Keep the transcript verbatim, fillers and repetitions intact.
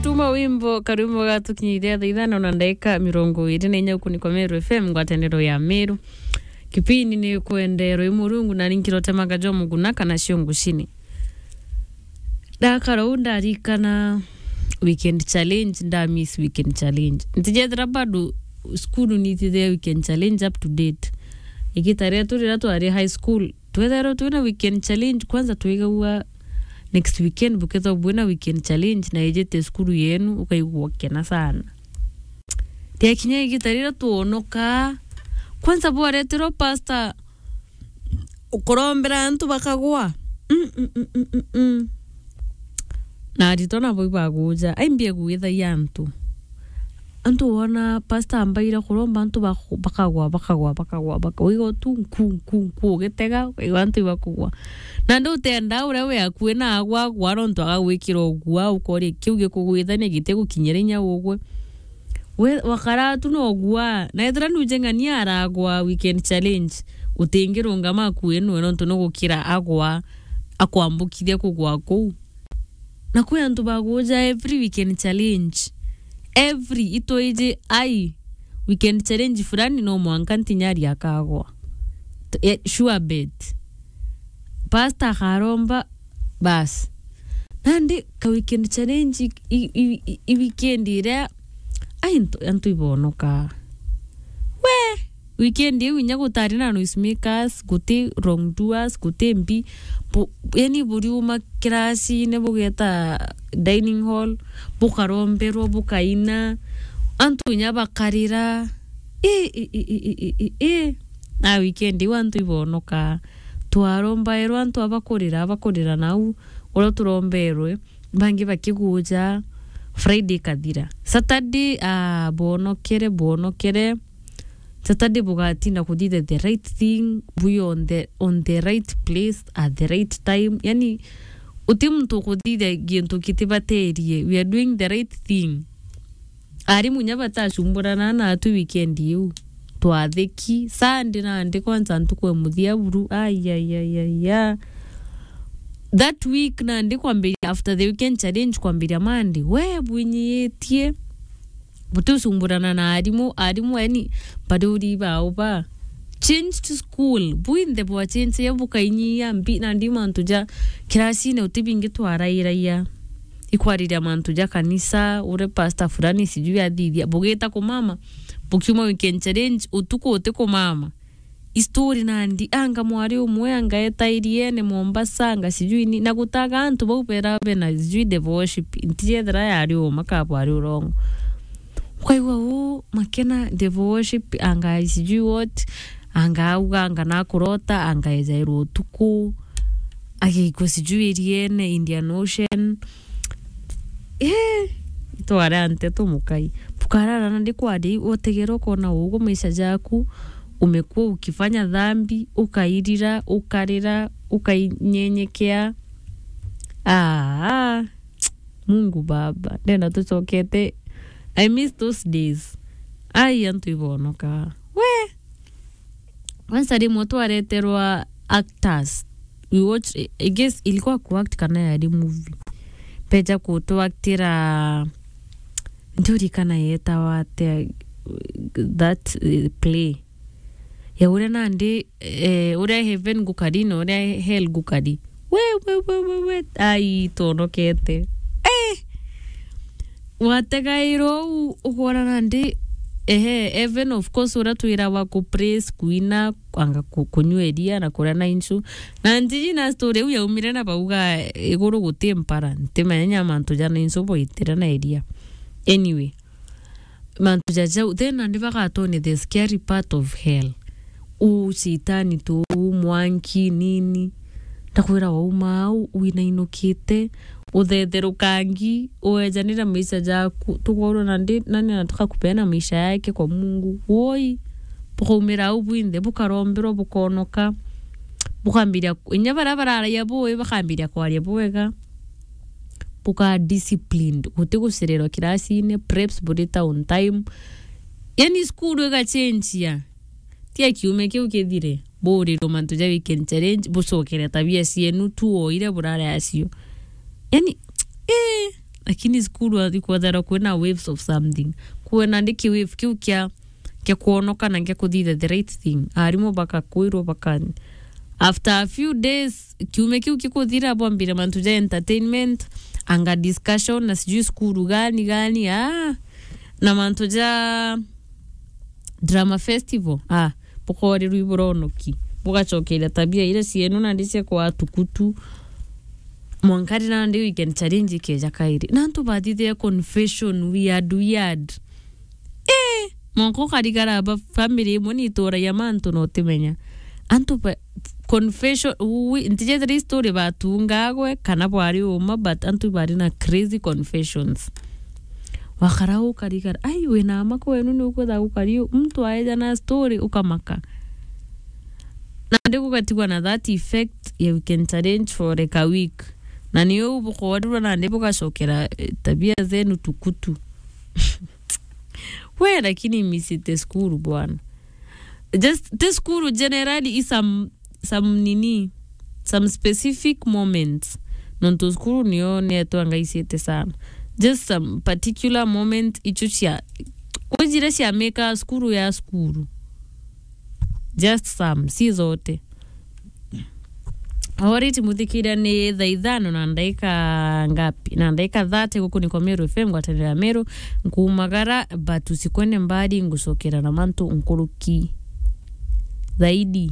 Tuma wimbo, karwimbo gatukinyithia thaa ithano na ndagika mirongo iri na inya, uku ni kwa Meru F M, ngwataniro ya Meru. Kipindi ni kwenderwa i Murungu, na ni nkirotemaga jo muguna kana cio ngucini. Ndakara uu ndarikana weekend challenge, nda miss weekend challenge. Ntijethira bado cukuru nitithia weekend challenge up to date. Igita ria turira twari high school, twethairwa twina weekend challenge, kwanza twigagua next weekend bukethwa bwina weekend challenge na ijite cukuru yenu, ukaigua ukena sana. Riakinya igita riria twonoka, kwanza bwareterwa pastor ukurombera antu bakagwa. Mm, mm, mm, mm, mm, mm. Na aritwa nabo ibaguja, aimbie gwithagia antu. Antu wona pastor ambaira kuromba antu bak-, bakagwa, bakagwa, bakagwa, bakagwa. Uigua tu nku, nku, nku, ugitega, ukaigua antu ibakugwa. Na ndi utenda uria wi akui na agwa, agwa, nontu agagwikira ugua, ukoria kiu gikugwithania gitigukinyira inya ugwe. We, wakara tu no ugua. Na ethira nuje ng'ania aragwa weekend challenge, utingirungama akui nwe, nontu nugukira agwa, akwambukithia kugwa kuu. Na kwi antu baguja every weekend challenge. Every, itwiji ai, weekend challenge fulani no mwanka ntinyari akagwa. T-, eh, sure bet. Pastor akaromba, bas. Nandi ka weekend challenge i, i, i, i weekend iria, ai, ntu-, antu ibonoka. We, weekend iu inya gutari na noisemakers, guti wrongdoers, guti mbi. Bu-, yani buriuma kirasine bugeta dining hall, bukaromberwa, bukaina, antu inya bakarira. I, i, i, i, i, i, i. Na weekend iu antu ibonoka. Twarombairwa antu abakurira, abakurira nau, uria turomberwe, bangi bakiguja, Friday ikathira. Saturday, ah, bwonokere, bwonokere. Saturday bugatinda kuthithia the right thing, bwi on the, on the right place at the right time. Yani, uti muntu ukuthithia gintu kitibaterie. We are doing the right thing. Arimu inya batacumburana natu weekend iu. Twatheki. Sunday nandi kwanza ntuku ya muthia buru. Ai, ai, ai, ai, ai. That week nandi kwambiria, after the weekend challenge kwambiria Monday. We bwinyiitie. Buticumburana na arimu. Arimu, yani, bari uri bao ba. Changed school. Bwinthe bwa change ya bukainyia mbi, nandi mantu ja kirasine uti bingi twarairagia. Ikwariria mantu ja kanisa, uria pastor fulani sijui athithia. Bugita kumama, bukiuma weekend challenge, utuku uti kumama. Istori nandi, anga mwari umwe, anga eta iriene Mombasa, anga sijui ni, na gutaga antu bau bera bena sijui the worship, ntijethera yari uma ka bwari urongo. Ukaigua uu, makena the worship, anga sijui what, anga auga, anga nakurota, anga ejairwa utuku, agikua sijui iriene, Indian Ocean. Eh, itware ante tumukai. Bukarara na ndikwari, utegera ukona ugu maisha jaku, umekuwa ukifanya dhambi, ukairira, ukarira, ukainyenyekea. Ah, Mungu Baba, ndenda tucokete. I miss those days. Ai, antu ibonoka. We! Kwanza rimwe twareterwa actors. We watch, I guess ilikuwa kuact kana yari movie. Beja kutuactira, ndirikana yetawa atia, that, eh, play. Ya uria nandi, eh, uria heaven gukari na uria hell gukari. We, we, we, we, we. Ai, twonokete. Eh! Wategairwo u-, ukwona nandi, ehe, heaven, of course, uria twirawa ku praise, kuina, kwanga ku-, kunyua iria na kuria na inchu. Na ntiji na story iu yaumire na bauga iguru guti mpara, ntimenya nya mantu ja na inchu boitire na iria. Anyway, mantu ja jau, then nandi bagatwonia the scary part of hell. U shetani tu, u mwanki, nini. Ndakwira wauma au, winainukite, uthetherukangi, uejanira maisha jaku, tukorwo nandi, nani anataka kupeana maisha yake kwa Mungu. Woi, bukaumira au bwinthe, bukaromberwa, bukonoka, bukambiria, inya baria bararagia bui, bakambiria kwaria bwega. Buka disciplined, guti gucererwa kirasine, preps burita on time. Yani, cukuru igachenjia. Tia kiumia kiu kithire, buurirwe mantu ja weekend challenge, bucokere tabia cienu tu o iria burari acio. Yani, eh, Lakini cukuru ikwethera kwina waves of something. Kwina ndi ki wave kiu kia, kia kwonoka na kia kuthitha the right thing. Arimu bakakwirwo baka, after a few days, kiume kiu kikuthira, bwambire mantu ja entertainment, anga discussion, na sijui cukuru gani gani, ah, na mantu ja drama festival, ah, bukorirwa iburonoki, bugacokeria tabia iria cienu nandi cia kwa tukutu. Mwanka ri nandi weekend challenge ikeja kairi. Na antu bathithia confession weird, weird. Eh, mwanka ukarigara ba family imwe ni ituragia mantu na utimenya. Antu ba, confession, ui, ntijethira i story batungagwe kana bwari uma, but antu bari na crazy confessions. Wakara ukarigara, ai, wina ama kwenu ni ukwitha gukari u-, muntu aeja na story ukamaka. Nandi gugatigwa na that effect ya weekend challenge for like a week. Na ni uu bukorirwa nandi bugacokera, eh, tabia zenu tukutu. We, lakini misite cukuru bwana. Just, ti cukuru generally, i some, some nini, some specific moments. Nontu cukuru nio netwa ngaicite sana. Just some particular moment icio cia, kwijire cia meka cukuru ya cukuru. Just some, si zote. Alright, muthikiria, ni thaa ithano na ndaika ngapi? Na ndaika thirty guku ni kwa Meru F M, ngwataniro ya Meru. Nkuumagara, but usikwende mbali, ngucokera na mantu nkuruki zaidi.